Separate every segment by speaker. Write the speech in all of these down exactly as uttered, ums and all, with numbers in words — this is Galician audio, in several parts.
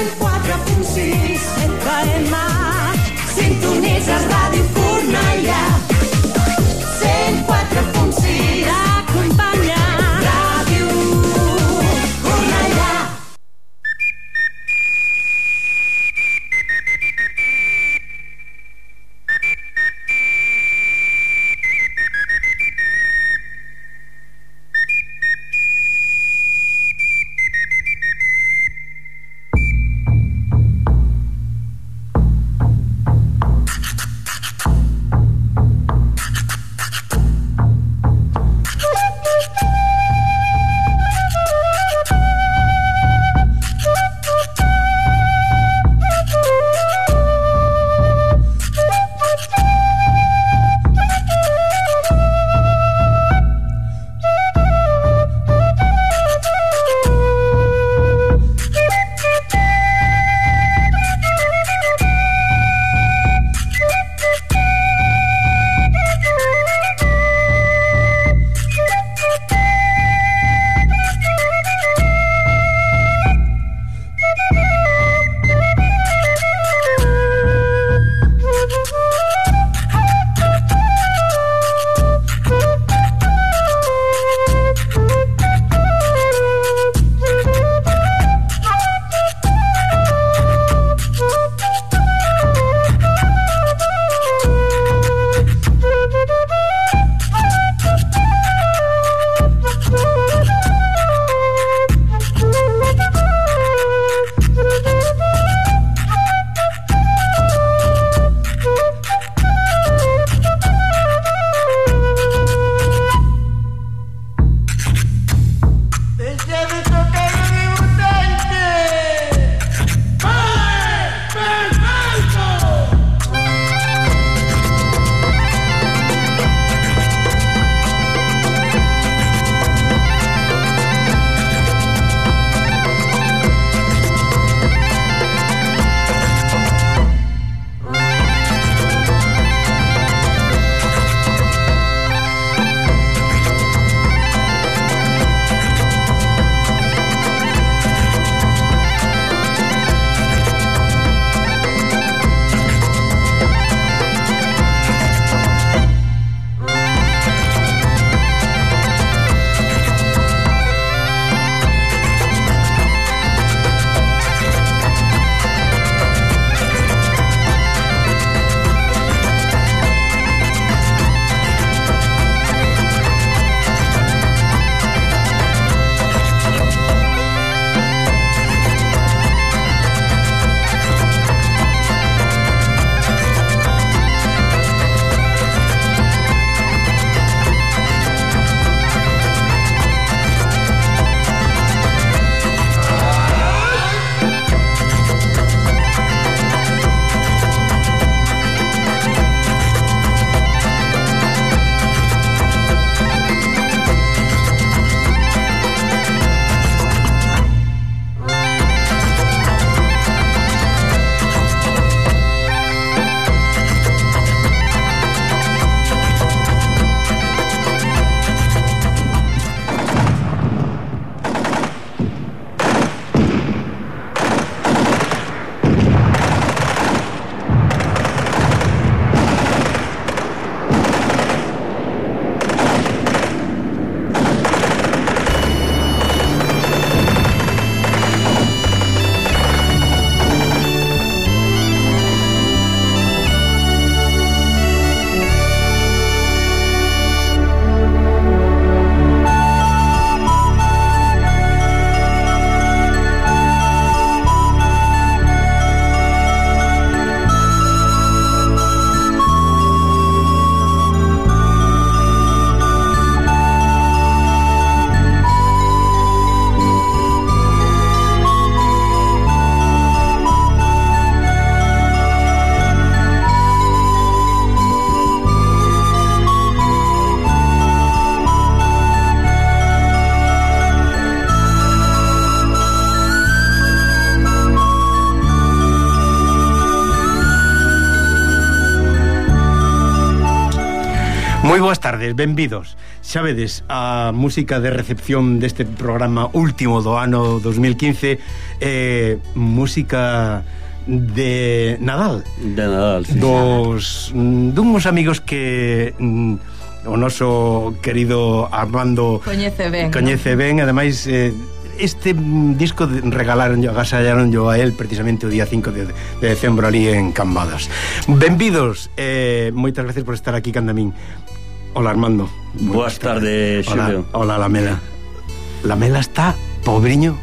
Speaker 1: cent quatre punt sis F M. Sintonitzes Ràdio Cornellà. cent quatre punt sis T'acompanya Ràdio Cornellà.
Speaker 2: Moi boas tardes, benvidos. Xa vedes, a música de recepción deste programa último do ano dos mil quince, eh, música de Nadal.
Speaker 3: De Nadal, sí.
Speaker 2: Dos, dunhos amigos que mm, o noso querido Armando
Speaker 4: coñece ben,
Speaker 2: coñece
Speaker 4: ¿no?
Speaker 2: ben, ademais eh, este disco regalaron agasallaron yo a él precisamente o día cinco de, de decembro ali en Cambadas. Benvidos, eh, moitas gracias por estar aquí canda min. Hola Armando.
Speaker 3: Boas tardes, Xulio.
Speaker 2: Hola, hola Lamela. Lamela está, pobriño,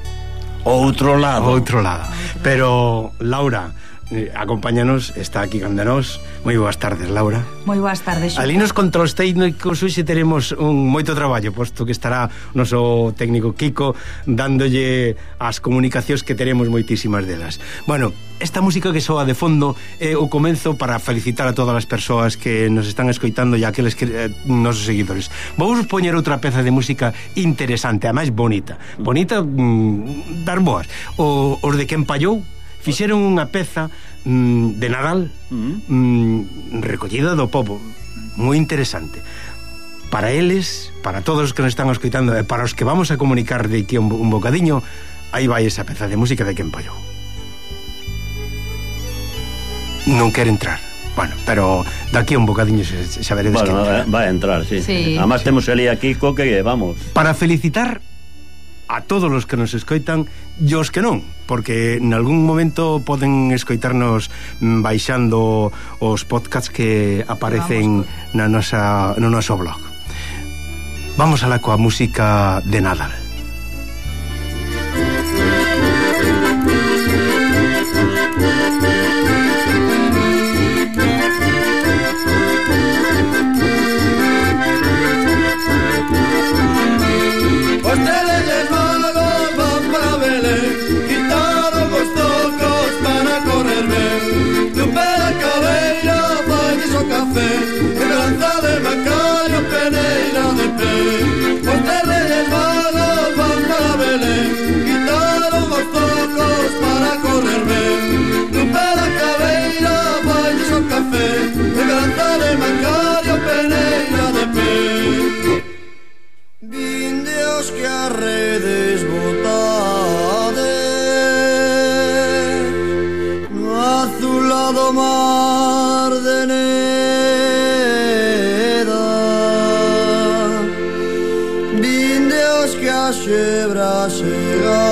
Speaker 3: outro lado.
Speaker 2: outro lado. Pero Laura eh, acompáñanos, está aquí canda nós. Moi boas tardes, Laura.
Speaker 4: Moi boas tardes, Xulio.
Speaker 2: Ali nos controls técnicos hoxe teremos un moito traballo, posto que estará o noso técnico Kiko dándolle as comunicacións que teremos moitísimas delas. Bueno, esta música que soa de fondo é o comenzo para felicitar a todas as persoas que nos están escoitando e aqueles que eh, nosos seguidores. Vamos poñer outra peza de música interesante, a máis bonita. Bonita, mm, dar boas. O, os de Quen Pallou fixeron unha peza mm, de Nadal mm, recollida do pobo, moi interesante para eles, para todos os que nos están escoitando e para os que vamos a comunicar de aquí un, un bocadiño. Aí vai esa peza de música de Quen Pallou. Non quere entrar. Bueno, pero daqui a un bocadiño xa veredes
Speaker 3: bueno,
Speaker 2: que entra.
Speaker 3: vai a entrar, sí,
Speaker 4: sí.
Speaker 3: Además temos ali a Kiko que vamos
Speaker 2: para felicitar a todos os que nos escoitan e os que non, porque en algún momento poden escoitarnos baixando os podcasts que aparecen na nosa, no noso blog. Vamos alá coa música de Nadal.
Speaker 5: Redes botades no azulado mar de Neda, vindeos que a xebra chegades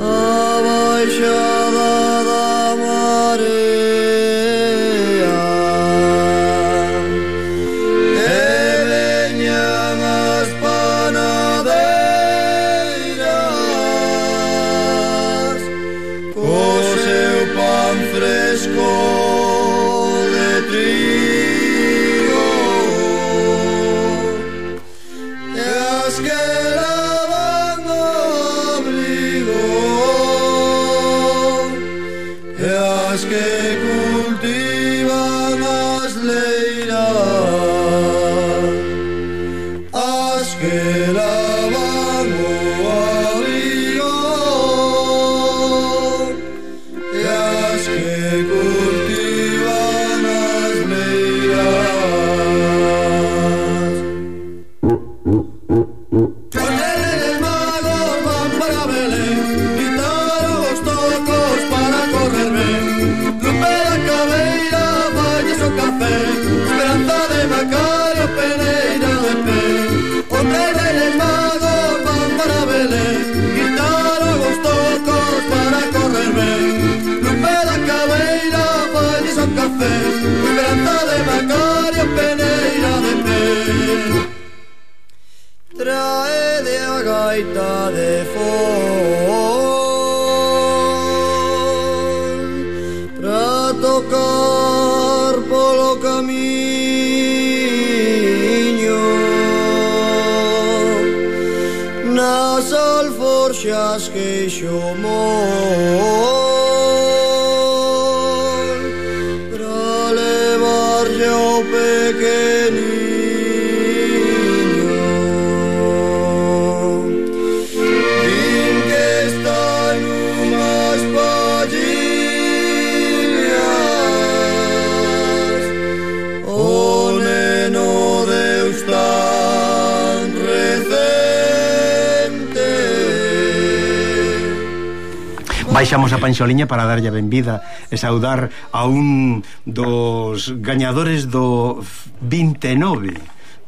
Speaker 5: a baixada da marea. Trae a gaita de fol pra tocar polo camiño nas alforxas que xomol pra levarlle ao pequeniño.
Speaker 2: baixamos a Panxoliña para darlle a benvida e saudar a un dos gañadores do vinte e nove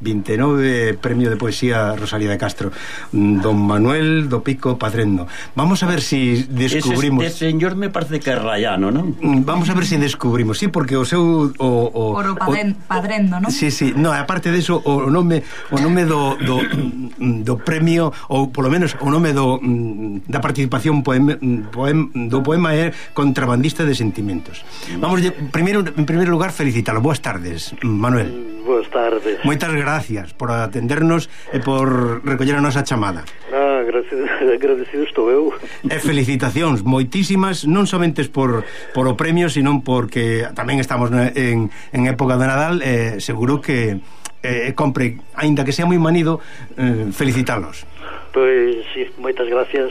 Speaker 2: vinte e nove Premio de Poesía Rosalía de Castro, don Manuel do Pico Padrendo. Vamos a ver si descubrimos...
Speaker 3: Ese, ese señor me parece que é rayano, non?
Speaker 2: Vamos a ver si descubrimos, sí, porque o seu... O, o,
Speaker 4: Oro Padren,
Speaker 2: o,
Speaker 4: Padrendo, non?
Speaker 2: Sí, sí, no, aparte de eso, o nome, o nome do, do, do premio, ou polo menos o nome do, da participación poema, poema, do poema é Contrabandista de Sentimentos. Vamos, primeiro, en primeiro lugar, felicitalo. Boas tardes, Manuel.
Speaker 6: Boas tardes.
Speaker 2: Moitas gracias por atendernos e por recoller a nosa chamada.
Speaker 6: Ah, gracias, agradecido estou eu.
Speaker 2: E felicitacións moitísimas, non somente por, por o premio, sino porque tamén estamos en, en época de Nadal, e seguro que eh, compre, aínda que sea moi manido, eh, felicitalos.
Speaker 6: Pois, sí, moitas gracias.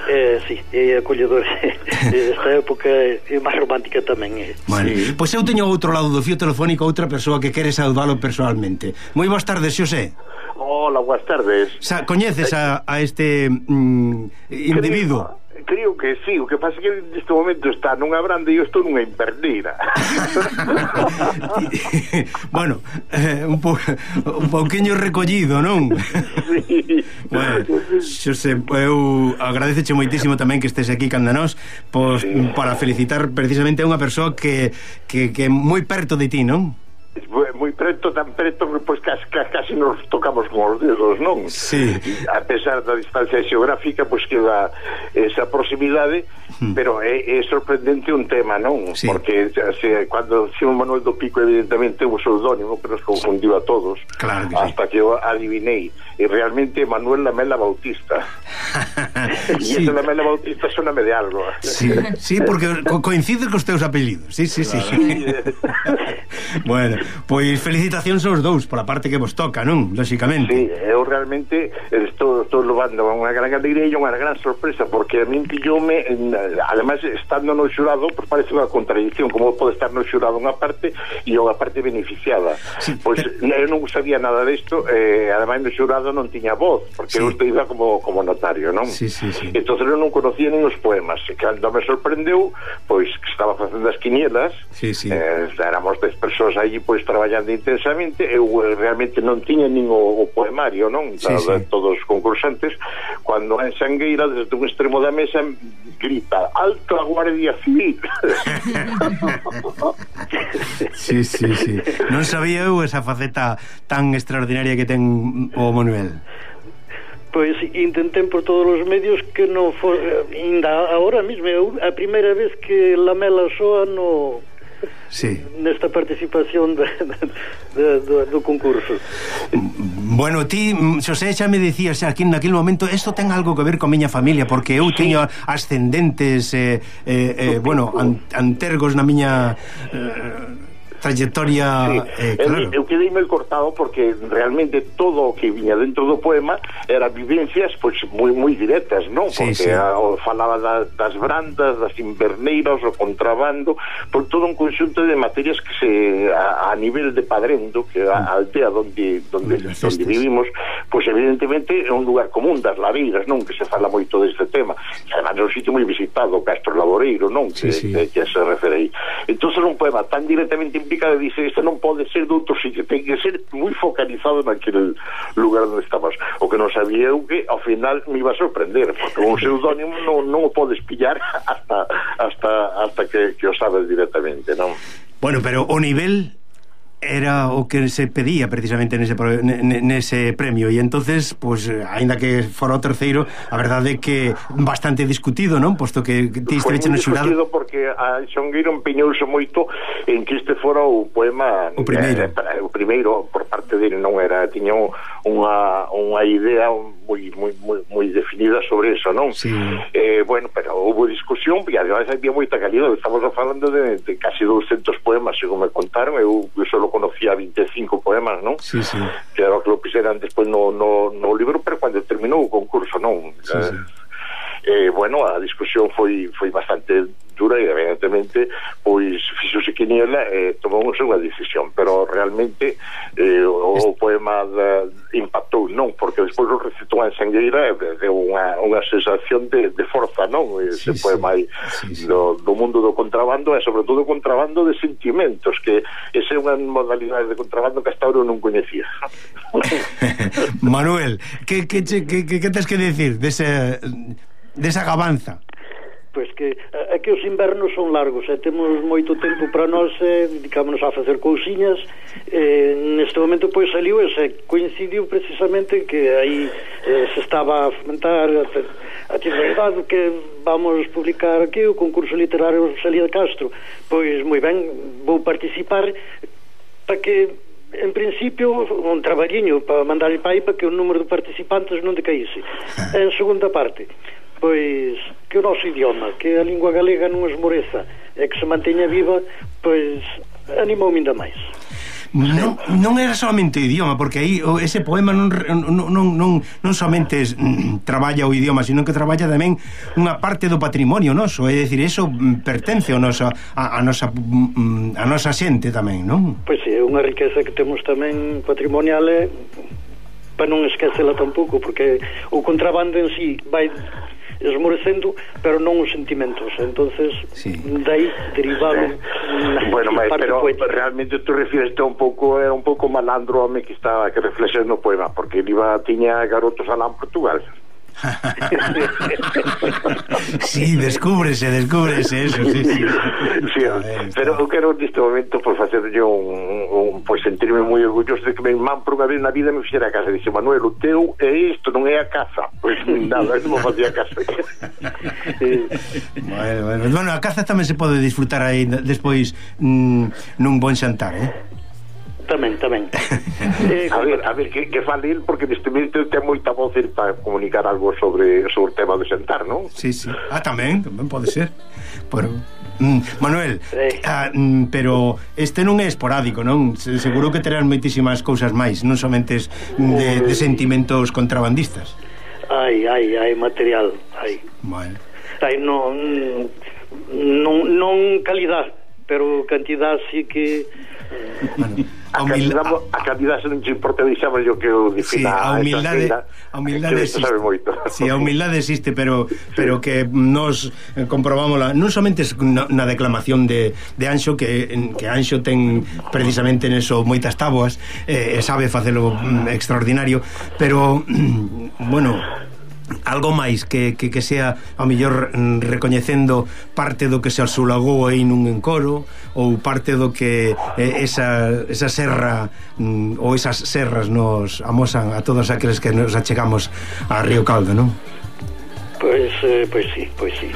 Speaker 6: Eh, sí, é acolledor. Esta época é máis romántica tamén. Eh.
Speaker 2: Bueno, sí. Pois eu teño ao outro lado do fío telefónico outra persoa que quere saudalo personalmente. Moi boas tardes, Xosé.
Speaker 7: Hola, boas tardes.
Speaker 2: Sa, coñeces a, a este mm, individuo?
Speaker 7: Creo, creo que sí, o que pasa é que neste momento está nunha branda e eu estou nunha inverneira.
Speaker 2: Bueno, eh, un, po, un pouquiño recollido, non?
Speaker 7: Sí.
Speaker 2: Bueno, Xosé, eu agradeceche moitísimo tamén que estés aquí canda nós, pois, sí, para felicitar precisamente a unha persoa que, que, que é moi perto de ti, non?
Speaker 7: Moi preto, tan preto que pois casi, casi nos tocamos con os dedos, non?
Speaker 2: Sí.
Speaker 7: A pesar da distancia xeográfica, pois queda esa proximidade, hmm. pero é, é sorprendente un tema, non? Sí. Porque se, cando Simón Manuel do Pico evidentemente é un pseudónimo que nos confundiu a todos,
Speaker 2: claro que
Speaker 7: hasta
Speaker 2: sí,
Speaker 7: que eu adivinei, e realmente Manuel Lamela Bautista. E sí, esa Lamela Bautista soname de algo.
Speaker 2: Sí, sí, porque co coincide cos teus apelidos. Sí, sí, sí, claro. Sí. Bueno, pois felicitacións aos dous pola parte que vos toca, non? Lóxicamente.
Speaker 7: Sí, eu realmente estou, estou levando unha gran alegría e unha gran sorpresa, porque a min pilloume, además, estando no xurado, pues parece unha contradicción, como pode estar no xurado unha parte e unha parte beneficiada. Sí, pois pero... eu non sabía nada disto, eh, además no xurado non tiña voz, porque sí, eu iba como, como notario, non?
Speaker 2: Sí, sí, sí.
Speaker 7: Entón eu non conocía nin os poemas, e cando me sorprendeu, pois que estaba facendo as quinielas,
Speaker 2: sí, sí,
Speaker 7: eh, éramos dez persoas aí pois traballando intensamente, eu realmente non tiña nin o, o poemario, non?
Speaker 2: Sí,
Speaker 7: da,
Speaker 2: sí.
Speaker 7: De todos os concursantes, cando en Sangueira desde un extremo da mesa grita alto a Guardia Civil.
Speaker 2: Sí, sí, sí. Non sabía eu esa faceta tan extraordinaria que ten o Manuel.
Speaker 6: Pois intentei por todos os medios que non for, ainda agora mesmo a primeira vez que Lamela soa no
Speaker 2: sí,
Speaker 6: nesta participación de, de, de, do concurso.
Speaker 2: Bueno, ti, Xosé, xa me dicías aquí naquele momento, isto ten algo que ver con miña familia, porque eu teño ascendentes eh, eh, eh, bueno, an, antergos na miña eh, trayectoria, sí, eh, claro.
Speaker 7: Eu quedeime cortado porque realmente todo o que viña dentro do poema era vivencias pois moi moi directas, non?
Speaker 2: Sí,
Speaker 7: porque
Speaker 2: sí.
Speaker 7: A, o, falaba da, das brandas, das inverneiras, o contrabando, por todo un conxunto de materias que se a, a nivel de Padrendo, que é a aldea donde donde, donde vivimos, pois evidentemente é un lugar común das ladeiras, non? Que se fala moito deste tema. E además é un sitio moi visitado, Castro Laboreiro, non? Que,
Speaker 2: sí, sí.
Speaker 7: que, que se refere aí. Entón é un poema tan directamente implicado, dice, isto non pode ser de outro sitio, ten que ser moi focalizado naquele lugar onde estamos. O que non sabía eu que ao final me iba a sorprender, porque un pseudónimo non, non o podes pillar hasta hasta hasta que, que o sabes directamente, non?
Speaker 2: Bueno, pero o nivel era o que se pedía precisamente nese, nese premio, e entonces, pues, aínda que fora o terceiro, a verdade é que bastante discutido, non? Posto que ti esteveche no xurado.
Speaker 7: Foi moi discutido porque a Xongueiro empeñouse moito en que este fora o poema
Speaker 2: o primeiro,
Speaker 7: eh, o primeiro por parte dele, non era, tiña unha unha idea moi moi moi moi definida sobre eso, non?
Speaker 2: Sí.
Speaker 7: Eh, bueno, pero houve discusión, e además había moita calidad, estamos falando de, de casi doscientos poemas, según me contaron, eu solo conocía vinte e cinco poemas, non?
Speaker 2: Sí, sí.
Speaker 7: Que era o que lo puseran despois no, no, no libro, pero cando terminou o concurso, non?
Speaker 2: Sí, sí.
Speaker 7: Eh, bueno, a discusión foi foi bastante cultura e evidentemente pois fixose quiniela e tomamos unha decisión, pero realmente eh, o, o poema da, impactou, non, porque despois o recitou en Sangueira e deu unha, unha sensación de, de forza, non? Ese sí, poema aí sí, sí. Do, do mundo do contrabando e sobre todo contrabando de sentimentos, que esa é unha modalidade de contrabando que hasta ahora non coñecía.
Speaker 2: Manuel, que, que, que, que, que tens que decir desa, desa gabanza?
Speaker 6: Pois que aquí os invernos son largos e temos moito tempo para nós e dedicámonos a facer cousiñas e neste momento pois saliu e se coincidiu precisamente que aí eh, se estaba a fomentar a, a actividade que vamos publicar aquí o concurso literario Rosalía de Castro. Pois moi ben, vou participar para que en principio un traballiño para mandar para aí para que o número de participantes non decaíse. En segunda parte, pois que o noso idioma, que a lingua galega non esmoreza e que se manteña viva, pois animou-me ainda máis.
Speaker 2: Non, non era solamente o idioma, porque aí ese poema non, non, non, non, non somente mm, traballa o idioma, sino que traballa tamén unha parte do patrimonio noso, é dicir, eso pertence ao nosa, a, a nosa a nosa xente tamén, non?
Speaker 6: Pois sí, é unha riqueza que temos tamén patrimonial e para non esquecela tampouco, porque o contrabando en sí vai esmorecendo, pero non os sentimentos, entonces sí. Dai derivado
Speaker 7: eh, bueno, mas, pero poética. Realmente tú refireste un pouco era un pouco malandro home que estaba que reflexes no poema, porque ele iba tiña garotos alá en Portugal.
Speaker 2: Sí, descúbrese, descúbrese eso, sí, sí.
Speaker 7: Sí, pero eu quero neste momento por facerlle un, un pois sentirme moi orgulloso de que me irmán por unha vez na vida me fixera a casa. Dice, Manuel, o teu é isto, non é a caza. Pois nada, non facía caza.
Speaker 2: Bueno, bueno, bueno, a caza tamén se pode disfrutar aí despois mm, nun bon xantar, eh?
Speaker 6: Tamén, tamén. eh,
Speaker 7: a ver, a ver, que, que fale el, porque neste momento ten moita voz para comunicar algo sobre, sobre o tema do xantar, non?
Speaker 2: Sí, sí. Ah, tamén, tamén pode ser. Pero, mm, Manuel, eh. ah, mm, pero este non é esporádico, non? Seguro que terán moitísimas cousas máis, non somente de, de sentimentos contrabandistas.
Speaker 6: Ai, ai, ai, material, ai.
Speaker 2: Bueno.
Speaker 6: Ai, non, non, non calidad, pero cantidad sí que...
Speaker 7: Bueno, a, humil... calidad, a calidad non te importa, deixamos yo que o defina.
Speaker 2: Sí, a humildade, a humildade existe. Sí, a humildade existe, pero sí. Pero que nos comprobámosla non somente na, na declamación de, de Anxo, que, que Anxo ten precisamente neso moitas táboas e eh, sabe facelo extraordinario, pero bueno, algo máis que, que, que sea ao mellor recoñecendo parte do que se asulagou aí nun encoro ou parte do que eh, esa, esa serra mm, ou esas serras nos amosan a todos aqueles que nos achegamos a Río Caldo, non?
Speaker 6: Pois, eh, pois sí, pois sí.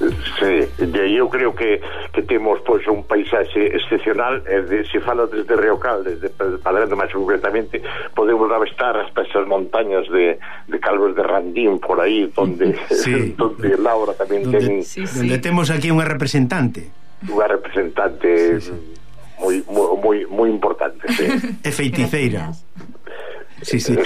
Speaker 7: Sí, eu creo que, que temos pois un paisaxe excepcional e de, se fala desde Río Caldo, desde Padrendo máis concretamente, podemos avistar as pesas montañas de, de Calvos de Randín por aí, donde, sí. Donde Laura tamén
Speaker 2: donde,
Speaker 7: ten
Speaker 2: sí, sí. Donde temos aquí unha representante
Speaker 7: unha representante sí, sí. moi, moi, moi importante, sí.
Speaker 2: E feiticeira. Sí, sí.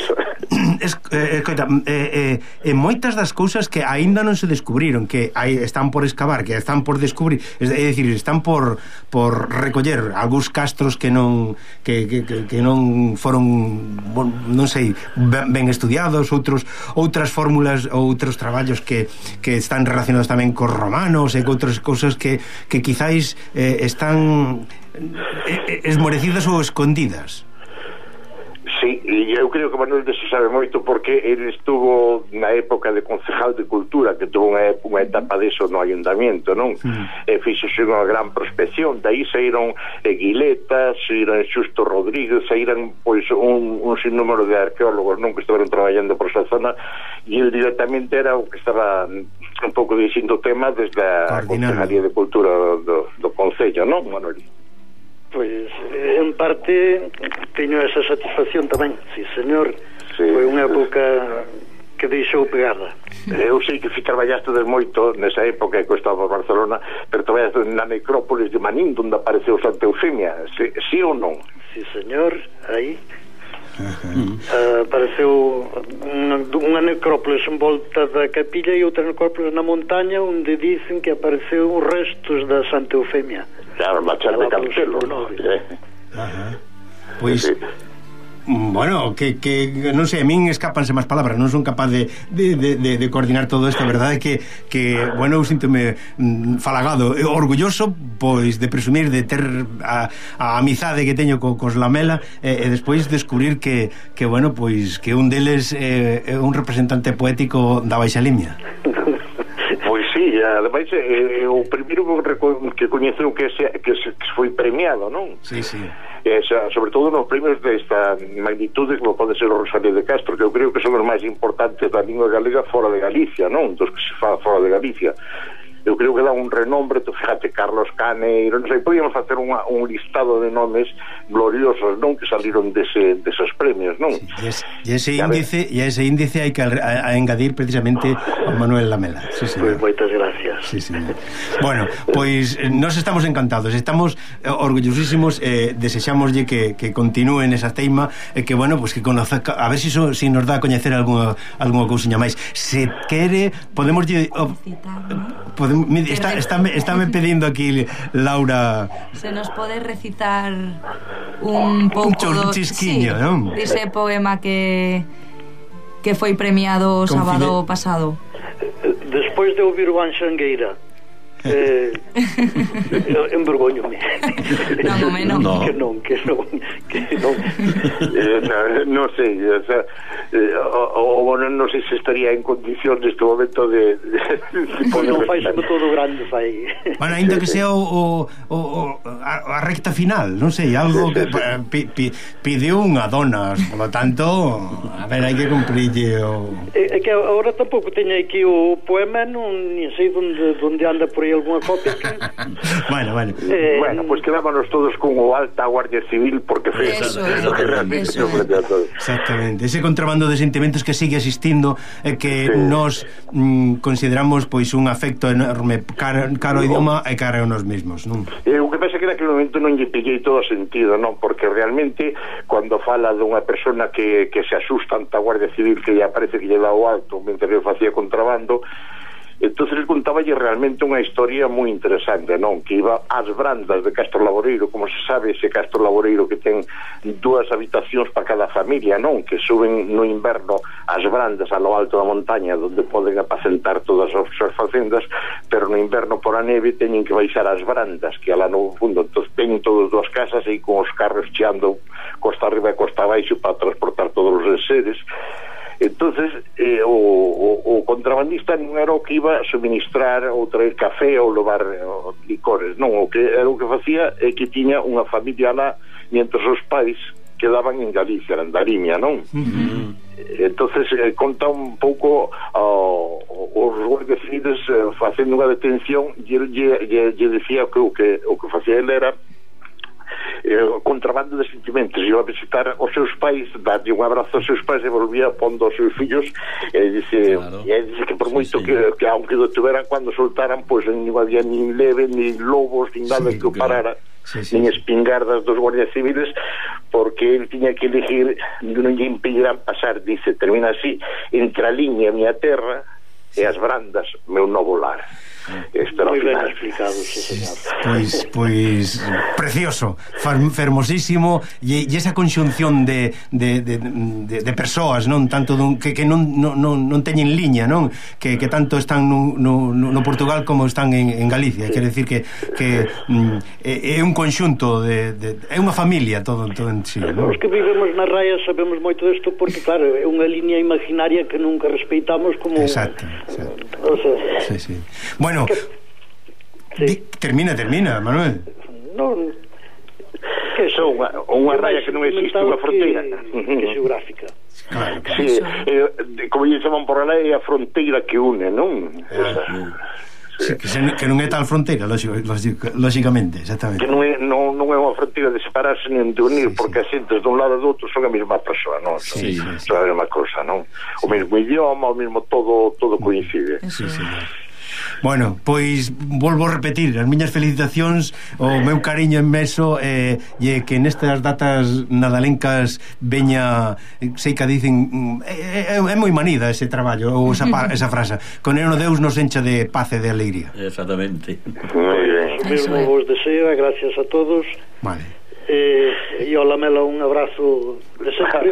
Speaker 2: Es, eh, coita, eh, eh, moitas das cousas que aínda non se descubriron, que aí están por excavar, que están por descubrir, é dicir, están por por recoller algúns castros que non que, que, que non foron, non sei, ben estudiados, outros outras fórmulas, outros traballos que, que están relacionados tamén cos romanos e con outras cousas que, que quizáis eh, están esmorecidas ou escondidas.
Speaker 7: Sí, e eu creo que Manuel deso sabe moito porque ele estuvo na época de concejal de cultura, que tuvo unha, unha etapa deso no ayuntamiento, non? Mm. E fixose unha gran prospección, daí saíron Guiletas, saíron Xusto Rodríguez, saíron pois un, un sinnúmero de arqueólogos, non, que estaban traballando por esa zona, e ele directamente era o que estaba un pouco dicindo o tema desde a Concejalía de Cultura do, do Concello, non, Manuel?
Speaker 6: Pois, en parte teño esa satisfacción tamén, sí, señor. Sí. Foi unha época que deixou pegada.
Speaker 7: Eu sei que traballaste des moito nesa época que estaba por Barcelona, pero traballaste na necrópolis de Manín, onde apareceu Santa Eufemia, sí, sí ou non?
Speaker 6: Sí, señor, aí. Uh, apareceu unha, unha necrópolis en volta da capilla e outra necrópolis na montaña onde dicen que apareceu os restos da Santa Eufemia.
Speaker 7: Claro, na Char de Cancelo, ¿no? Eh.
Speaker 2: Ajá. Pois, sí. Bueno, que, que non sei, a min escapanse máis palabras, non son capaz de, de, de, de, de coordinar todo isto, a verdade é que, que bueno, eu síntome mm, falagado, orgulloso, pois, de presumir de ter a, a amizade que teño co, cos Lamela e, e despois descubrir que, que, bueno, pois, que un deles é, é un representante poético da Baixa Limia.
Speaker 7: Pois sí, ademais é o primeiro que coñeceu que, se, que, se, que foi premiado, non?
Speaker 2: Sí, sí.
Speaker 7: Esa, sobre todo nos premios desta magnitude como pode ser o Rosalía de Castro, que eu creo que son os máis importantes da lingua galega fora de Galicia, non? Dos que se fa fora de Galicia. Eu creo que dá un renombre, tu fíjate, Carlos Caneiro, non sei, podíamos facer unha, un listado de nomes gloriosos, non? Que saliron dese, deses premios, non?
Speaker 2: Sí, e ese índice, e ese índice hai que a, a engadir precisamente o Manuel Lamela. Sí,
Speaker 6: pois moitas gracias.
Speaker 2: Sí, sí. Bueno, pois eh, nos estamos encantados, estamos eh, orgullosísimos, eh, desexámoslle que, que continúen esa teima e eh, que, bueno, pues que conoza, a ver se si, so, si nos dá a coñecer algunha, algunha cousiña máis. Se quere, podemos lle... Oh, podemos Está, está, está me pedindo aquí Laura.
Speaker 4: Se nos pode recitar un pouco
Speaker 2: un chisquiño, sí, non?
Speaker 4: Dice poema que que foi premiado o sábado pasado.
Speaker 6: Despois de ouvir o Anxangueira, eh, envergoñome.
Speaker 4: Non, home, non.
Speaker 6: No. Que non, que non, que non.
Speaker 7: eh, no, non sei, o sea, eh, o, o bueno, non sei se estaría en condición neste momento de, de, de
Speaker 6: pois non fai sempre todo grande, fai.
Speaker 2: Bueno, ainda que sea o, o, o a, a recta final, non sei, algo que pi, pi, pideu unha dona, por lo tanto, a ver, hai que cumplirlle o...
Speaker 6: É, é que agora tampouco teño aquí o poema, non sei onde, onde anda por aí alguna copia que...
Speaker 2: Bueno, bueno.
Speaker 7: Eh, bueno, pues quedámonos todos con o Alta Guardia Civil porque foi
Speaker 4: eso,
Speaker 7: eso, que realmente
Speaker 4: eso,
Speaker 7: eso.
Speaker 2: Exactamente, ese contrabando de sentimentos que sigue existindo e que
Speaker 7: sí.
Speaker 2: nos mm, consideramos pois un afecto enorme caro, caro ao idioma e caro a nos mesmos, non?
Speaker 7: Eh, o que pasa que naquele momento non lle pillei todo o sentido, non? Porque realmente cando fala dunha persona que, que se asusta ante a Guardia Civil que lle parece que lle dá o alto mentre eu facía contrabando, entonces contáballe realmente unha historia moi interesante, non? Que iba ás brandas de Castro Laboreiro, como se sabe, ese Castro Laboreiro que ten dúas habitacións para cada familia, non? Que suben no inverno ás brandas a lo alto da montaña onde poden apacentar todas as súas facendas, pero no inverno por a neve teñen que baixar ás brandas que alá no fundo, entón teñen todas dúas casas e con os carros cheando costa arriba e costa abaixo para transportar todos os enseres. Entonces eh, o, o, o contrabandista non era o que iba a suministrar ou traer café ou levar o, licores, non, o que era o que facía é que tiña unha familia lá mientras os pais quedaban en Galicia, en Darimia, non? Uh-huh. Entonces eh, conta un pouco uh, os guardias civiles uh, facendo unha detención e ele lle, lle decía que o que o que facía ele era Eh, contrabando de sentimentos, iba a visitar os seus pais, darlle un abrazo aos seus pais e volvía pondo aos seus fillos e dice, claro. E dice que por moito sí, sí. Que, que aunque o tuveran cando soltaran, pois pues, non había nin leve, nin lobos, nin nada sí, que o parara, sí, sí, nin espingardas dos guardias civiles, porque ele tiña que elegir, non lle impedirán pasar, dice, termina así, entre a liña miña terra sí. E as brandas meu novo lar.
Speaker 6: Moi ben explicado, sí, señor.
Speaker 2: Pois, pois precioso, fermosísimo e, e esa conxunción de, de, de, de, de persoas, non tanto dun, que, que non, non, non teñen liña, non que, que tanto están no, no, no Portugal como están en, en Galicia, sí. Quer decir que, que mm, é, é un conxunto de, de, é unha familia todo, todo en sí, non?
Speaker 6: Os que vivemos na raya sabemos moito disto porque claro, é unha liña imaginaria que nunca respeitamos como...
Speaker 2: Exacto, exacto.
Speaker 6: O sea,
Speaker 2: sí, sí. Bueno, que... sí. termina, termina, Manuel.
Speaker 6: Non,
Speaker 7: que son unha, unha raya que non existe unha fronteira
Speaker 6: que, que xeográfica.
Speaker 2: Claro, claro.
Speaker 7: Sí, eh, como lle chaman por lá é a fronteira que une, non? Esa,
Speaker 2: sí, que, se, que non é tal fronteira, lógicamente, exactamente.
Speaker 7: Que non é, non, non é unha fronteira de separarse nin de unir, sí, porque sí. As xentes dun lado do outro son a mesma persoa, non?
Speaker 2: Sí,
Speaker 7: son,
Speaker 2: sí,
Speaker 7: son a mesma cosa, non? O mesmo idioma, o mesmo todo todo coincide.
Speaker 2: Sí, sí, sí. Bueno, pois volvo a repetir as miñas felicitacións, o meu cariño inmenso, eh, e que nestas datas nadalencas veña, sei que dicen é, é, é moi manida ese traballo ou esa, esa frase, con el no Deus nos encha de paz e de alegría.
Speaker 3: Exactamente.
Speaker 7: Moi ben.
Speaker 6: O mesmo vos deseo, gracias a todos.
Speaker 2: Vale.
Speaker 6: Eh, e ao Lamela un abrazo de sempre.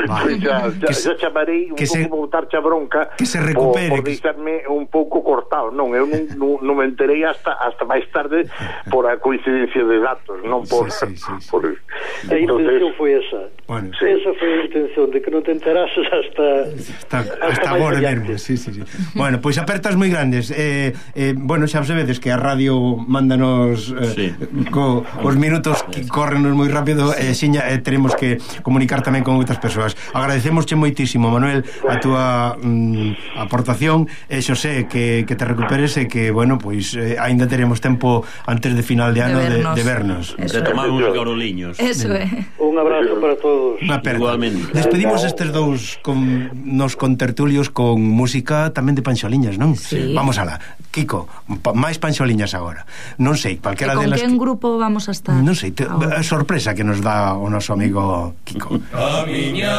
Speaker 2: Vale.
Speaker 7: xa, xa,
Speaker 2: Que
Speaker 7: xa chamarei un
Speaker 2: que
Speaker 7: pouco
Speaker 2: se-
Speaker 7: botarche a bronca
Speaker 2: que se recupere,
Speaker 7: por, por
Speaker 2: que-
Speaker 7: deixarme un pouco cortado. Non, eu non, non, non me enterei hasta hasta máis tarde por a coincidencia de datos, non por,
Speaker 2: Sí, sí, sí, sí.
Speaker 7: por...
Speaker 6: A intención foi esa.
Speaker 2: Bueno,
Speaker 7: Sí.
Speaker 6: Esa foi a intención, de que non te enterases hasta
Speaker 2: Hasta,
Speaker 6: hasta
Speaker 2: hasta
Speaker 6: máis
Speaker 2: agora
Speaker 6: adiante.
Speaker 2: mesmo, sí, sí, sí. Bueno, pois apertas moi grandes. Eh, eh, bueno, xa sabedes que a radio mándanos eh,
Speaker 3: Sí.
Speaker 2: co, os minutos que correnos moi rápido, e eh, xiña, eh, teremos que comunicar tamén con outras persoas. Agradecemosche moitísimo, Manuel, a túa mm, aportación, e Xosé, que, que te recuperes e que, bueno, pois eh, aínda teremos tempo antes de final de ano de,
Speaker 4: vernos.
Speaker 2: de vernos.
Speaker 4: Eso
Speaker 3: De
Speaker 4: é.
Speaker 3: tomar uns garoliños.
Speaker 4: Eso é.
Speaker 6: Un abrazo para todos.
Speaker 2: Unha aperta.
Speaker 3: Igualmente.
Speaker 2: Despedimos estes dous con, nos contertulios con música tamén de panxoliñas, non?
Speaker 4: Sí.
Speaker 2: Vamos alá. Kiko, pa, máis panxoliñas agora. Non sei,
Speaker 4: E
Speaker 2: calquera
Speaker 4: con
Speaker 2: delas
Speaker 4: quen
Speaker 2: que...
Speaker 4: grupo vamos a estar?
Speaker 2: Non sei, te,
Speaker 4: Ahora.
Speaker 2: a sorpresa que nos dá o noso amigo Kiko.
Speaker 8: A miña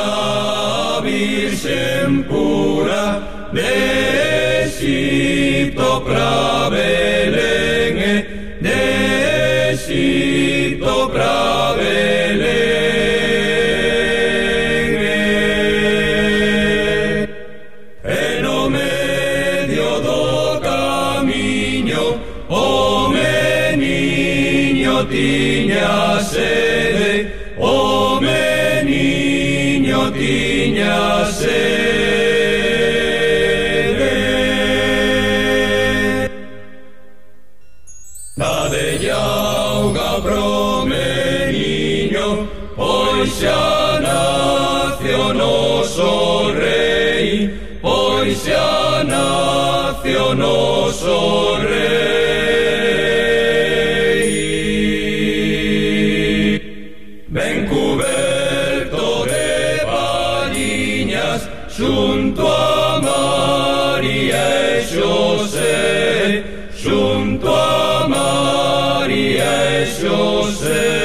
Speaker 8: virxen pura de Exipto pra Belén, de Exipto pra Belén, e no medio do camiño o meniño tiña sede, o meniño tiña sede. Dadelle auga pro meniño, pois xa nacio noso rei, pois xa nacio noso rei. Ben cuberto de paliñas, xunto a María e Xosé, xunto a María e Xosé.